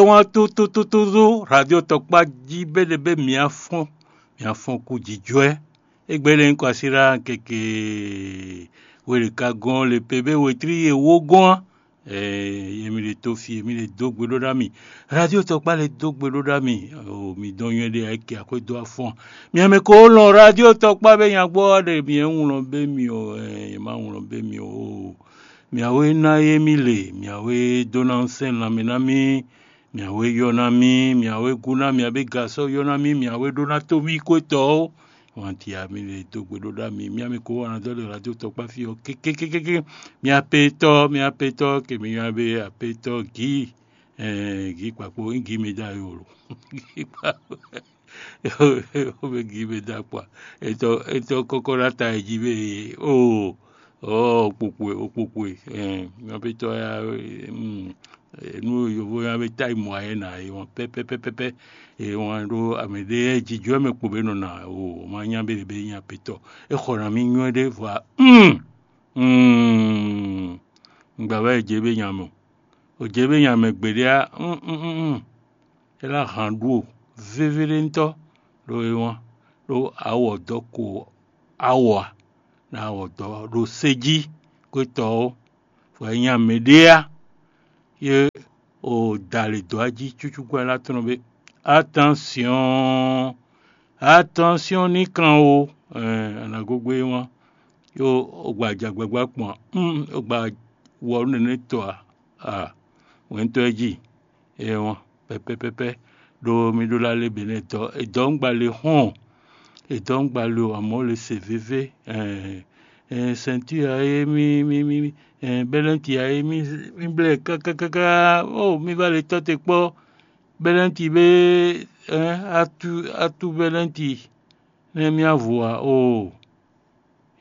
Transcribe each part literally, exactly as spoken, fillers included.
Wọ́n á tó tó tó tó tó radio tɔkpá jí bɛ́ ɖe bɛ́ mǐ á fɔ́n, mǐ á fɔ́n kú jǐjɔ́ ɛ. Égbɛ́ lɛ́ɛ nyí kɔ así ɖá keke we ɖeka gɔ́n le pe bɛ́ we tlí e wó gɔ́n á. Yě mì ɖe tó fi, yě mì ɖe dó gbe ɖó ná mì. Radio tɔkpá lɛ́ɛ dó gbe ɖó ná mì. O mǐ dɔn nywɛ́ ɖé ayike akwɛ́ dó afɔ́n. Mǐ mɛ ko lɔn radio tɔkpá bɛ́ nyagbɔ́ ɖe mǐ é wlɔn bɛ́ mì o, yě má wlɔn bɛ́ mì o. Mǐawe ná yé mì le, mǐawe dó ná sɛn lanmɛ ná mì, mǐawe yɔ ná mì, mǐawe gu ná mǐabe gasɔ yɔ ná mì, mǐawe ɖó ná tó mì kwétɔ́ ó. Wanti a mi le dó gbe ɖó ɖá mi, mǐa mi ko wá ná dɔ́ ɖe radio tɔkpá fí ɔ́ kékékékéké. Mǐa pe tɔ́, mǐa pe tɔ́ ke mi nywá be apetɔ́ gǐ, gǐ kpakpo, gǐ mi dá yo lo. Gǐ kpakpo. Ó be gǐ be dó akpa. Etɔ etɔ kɔkɔ ɖo ata e jí be oo ɔɔ okpokpo e okpokpo e. Ɛn nyɔbetɔ ya, mm, nu yovo ya be tayi mɔ ayɛ na e wɔn pɛpɛpɛpɛ e wɔn ɖo amɛ ɖe jijɔ mɛ kpo be nɔ na o ma nya be be nya petɔ. E xɔ na mi nyɔ ɖe vɔ a. Mm. Mm. Ngba wɛ je be nya mɔ. O je be nya mɛ gbeɖe a. Mm, mm, mm, mm. É ná han ɖu o vévéɖéntɔ́ ɖo é wán, ɖó awɔ dɔ̌ ko awɔ a, ná awɔ dɔ̌ ɖo sé jí kwétɔ́ ó, vɔ é nyí amɛ ɖé á, yé o da lě dó ají cúcú gbɛ́ ná tlɔ́n bé. Atánsyɔ́ɔn, atánsyɔ́ɔn ní kan o, anǎgógbé é wán, yó o gba ajagbagba kpɔn a, o gba wɔ nɛnɛ tɔ a, a wɛ̌ntɔ́ ɛ jí. Ewɔn pɛpɛpɛpɛ ɖo mi ɖó lá lé bě nɛ́ dɔ́ è dɔ́ ŋgba le hɔn, è dɔ́ ŋgba le o amɔ̌ le se vévé. Sɛntí a é mí mí mí bɛ́lɛ́nti a é mí mí blɛ́ kákákáká. Ó mi va le tɔ́ te kpɔ́ bɛ́lɛ́nti bé atú atú bɛ́lɛ́nti nɛ́ mí avo ǎ oo.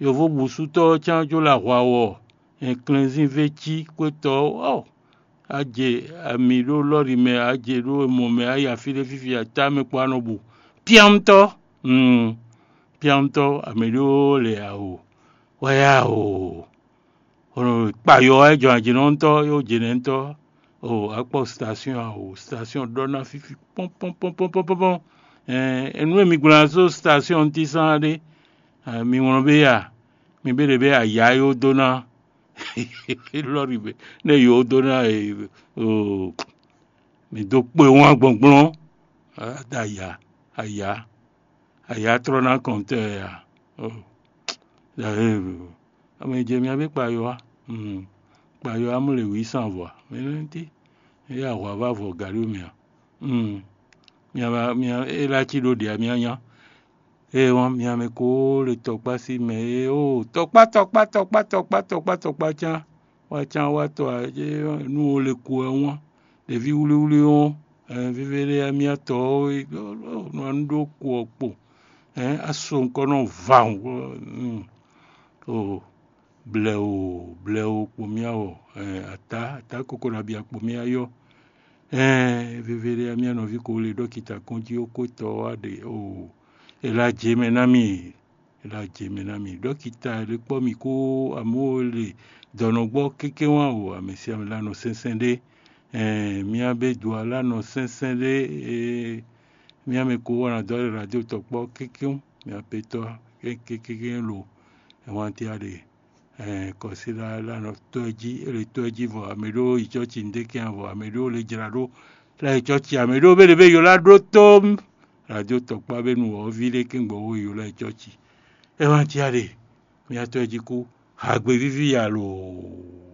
Yovóbǔsútɔ́ ɔ́ cán jó lɛ ahwa wɔ, ɛnklɛnzínvé cí xwétɔ́ ɔ́, á jɛ ami ɖó lɔ́ri mɛ, á jɛ ɖó mɔ mɛ, á yi afí ɖé fífi atá mɛ kpó á nɔ bu. Pyɔ́ntɔ́, mm, pyɔ́ntɔ́, ami ɖó lɛ awo, wɛ awo. Kpayɔ wɛ jɔn ajínɔ́ntɔ́ yó jɛnɛntɔ́ o akpɔ station a o station ɖɔ ná fífi pɔnpɔnpɔnpɔnpɔnpɔn. Ɛn nú mi gblɔ́n só station ntí sán ɖé, mi wlɔn bé ya, mi bé ɖe bé aya yó dó ná lɔri bé ne yó dó ná o mi dó kpé wán gbɔngbɔn. Ada aya aya aya trɔ ná kɔntɛ ya. Ame jɛ mia bí kpayɔ á. Kpayɔ á mú le wǐ sán vɔ ǎ. Mɛ nɛ́ tí é yá hwǎ vá vɔ gǎɖó mɛ ǎ. Mia ba mia é lá cí ɖó ɖě mia nya. Ée wán mia mɛ ko le tɔkpá sí mɛ é ó tɔkpá tɔkpá tɔkpá tɔkpá tɔkpá tɔkpá cán wá cán wá tɔ ǎ. Nú wo le ko ɛ wán ɖeví wlíwlí ɔ́, vívɛ́ ɖé mia tɔ ɔ́ nɔ nú ɖó ko ɔ́ kpo. Á so nukɔn nɔ va o blɛ̌ o blɛ̌ o kpo mia wɔ. Atá atá koko ɖo abia kpo mia yɔ. Vivɛ ɖé mía nɔví ko le ɖɔkita kɔnjí ó kó tɔ wá ɖe o. Ela jɛ mɛ ná mi ela jɛ mɛ ná mi ɖɔkita le kpɔ́ mi kó amú o le dɔnɔgbɔ kéké wá o amɛ si amɛ la nɔ sɛnsɛn ɖé. Mía bé du ala nɔ sɛnsɛn ɖé. Mía mɛ ko wá na dɔ radio tɔkpɔ kékéŋ mía petɔ kékékéké lo. Ɛwantia ɖe kɔsíɖá la nɔ tɔ́ ɛ jí é le tɔ́ ɛ jí vɔ amɛ ɖó yi cɔ́ci ŋɖé kɛn vɔ amɛ ɖó le jra ɖó la yi cɔ́ci amɛ ɖó bé ɖe bé yó lá ɖó tó. Radio tɔkpá bé nu wɔ̌ví ɖé kɛn gbɔ wo yó lá yi cɔ́ci. Ɛwantia ɖe mía tɔ́ ɛ jí kú hagbe víví ya loo.